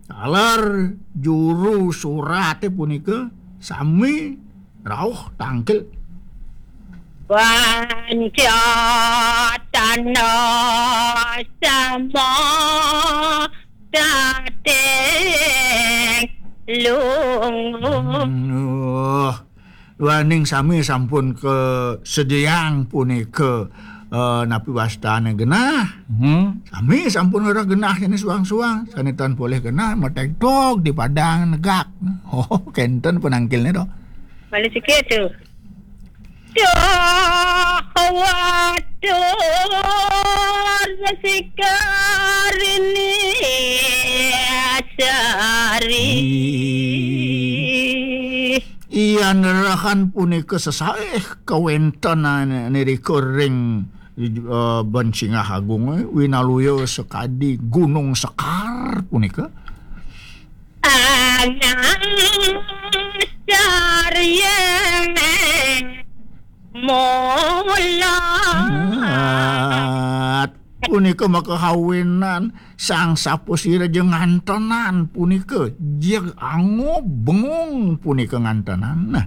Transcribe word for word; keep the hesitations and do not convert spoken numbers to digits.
Taler juru surate punika sami rauh tangkil. Pancatana sama dating lungu. Duh. Duaning sami sampun kasediang punika, eh, napi wastane genah. Hmm. Sami sampun ora genah sane suang-suang, sane tan polih genah mategtog di padang negak. Oh, kenten penangkilne to. Malih sikit tu. Duh, waduh, sikarini sari. Iya, nerahan punika sesaih kawentenan nirika ring, eh, Bensingah Agung, eh, winaluya sakadi Gunung Sekar punika. Anang sarya mula. Punika makahawinan sang sapasira ja ngantenan punika, jeg angob bengung punika ngantenan. Nah.